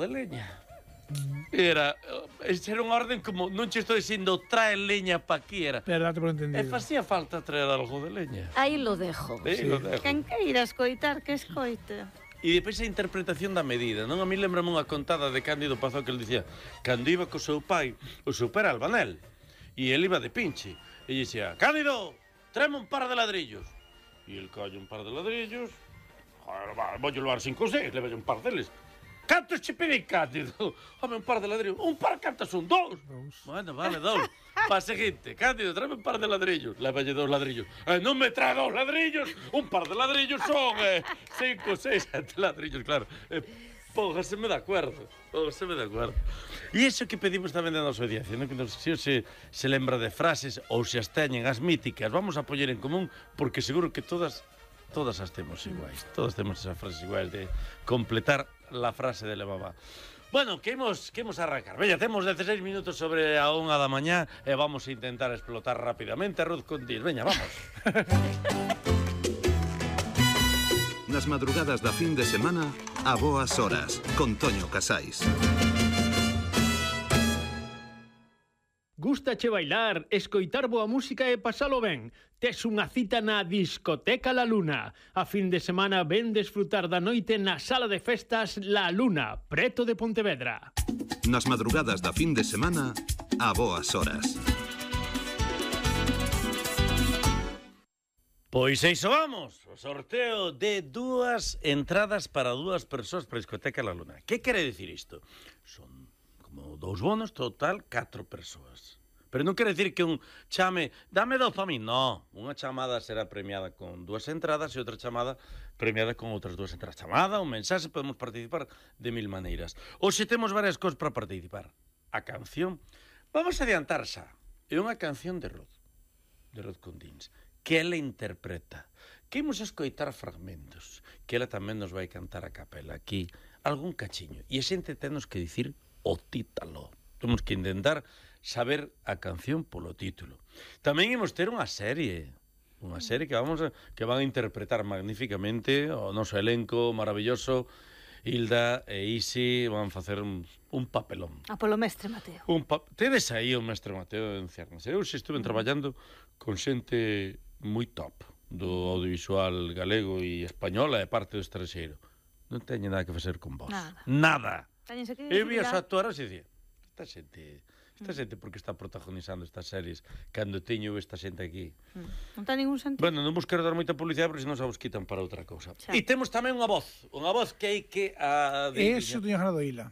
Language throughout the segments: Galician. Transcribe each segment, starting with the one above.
de leña. Era unha orden como, non che estou dicindo trae leña pa aquí, era. Pero date por E entendido. facía falta traer algo de leña. Aí lo dejo. Sí, lo dejo. Quen queira escoitar, que escoite. E depois a interpretación da medida, non? A mí lembrame unha contada de Cándido Pazó que ele dicía, cando iba co seu pai, o seu pai era albanel, e ele iba de pinche, e dicía, Cándido, tráeme un par de ladrillos. E el colle un par de ladrillos, vou levar 5 ou 6, leva un par deles. Cantos che pedí, Cándido? Home, un par de ladrillos. Un par cantos son? 2? Bueno, vale, 2. Pa seguinte, Cándido, tráeme un par de ladrillos. Levalle 2 ladrillos. Non me trae 2 ladrillos. Un par de ladrillos son 5, 6, 7 ladrillos, claro. Póngaseme de acuerdo. Póngaseme de acuerdo. E iso que pedimos tamén da nosa audiencia, non? Que nos, se lembra de frases ou se as teñen as míticas, vamos a poñer en común, porque seguro que todas as temos iguais. Todas temos esas frases iguais de completar la frase de la mamá. Bueno, que imos arrancar. Veña, temos 16 minutos sobre a 1 da mañá e vamos a intentar explotar rapidamente a Ruth Condís. Veña, vamos. Nas madrugadas da fin de semana, a boas horas, con Toño Casais. Gústache bailar, escoitar boa música e pasalo ben? Tes unha cita na Discoteca La Luna. A fin de semana ven desfrutar da noite na sala de festas La Luna, preto de Pontevedra. Nas madrugadas da fin de semana, a boas horas. Pois iso vamos, o sorteo de 2 entradas para 2 persoas para a Discoteca La Luna. Que quere dicir isto? Son como 2 bonos, total 4 persoas. Pero non quere dicir que un chame, dame 2 para mí, non. Unha chamada será premiada con 2 entradas e outra chamada premiada con outras 2 entradas. Chamada, un mensaxe, podemos participar de 1000 maneiras. Ou se temos varias cosas para participar. A canción, vamos a adiantar xa. É unha canción de Ruth Condís, que ela interpreta. Que imos escoitar fragmentos, que ela tamén nos vai cantar a capela aquí, algún cachiño. E a xente tenos que dicir o títalo. Temos que intentar saber a canción polo título. Tamén imos ter unha serie que van a interpretar magníficamente o noso elenco maravilloso. Hilda e Isi van facer un papelón. A polo mestre Mateo. Tedes aí o mestre Mateo en Ciernes. Eu se estuve traballando con xente moi top do audiovisual galego e española e parte do estranxeiro. Non teñe nada que facer con vos. Nada. Eu vi as actuaras e dicía, esta xente porque está protagonizando estas series cando teño esta xente aquí. Non ten ningún sentido. Bueno, non vos quero dar moita publicidade porque senón xa vos quitan para outra cousa. E temos tamén unha voz que hai que adivinar. Eso teño ganado Ila.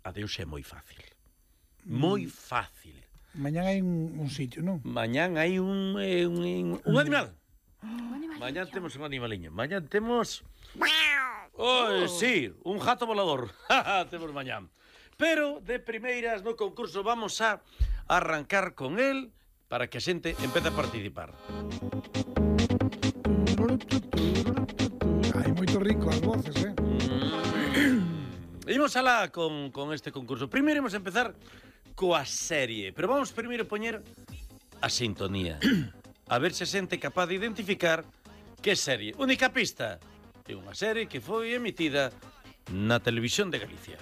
Adeus é moi fácil. Moi fácil. Mañán hai un sitio, non? Mañán hai un animal. Mañán temos un animaliño. Mañán temos... sí, un jato volador. Temos mañán. Pero, de primeiras, no concurso vamos a arrancar con él para que a xente empece a participar. Hai moito rico as voces, Imos alá con este concurso. Primeiro imos empezar coa serie, pero vamos primeiro poñer a sintonía. A ver se a xente é capaz de identificar que serie. Única pista. É unha serie que foi emitida na Televisión de Galicia.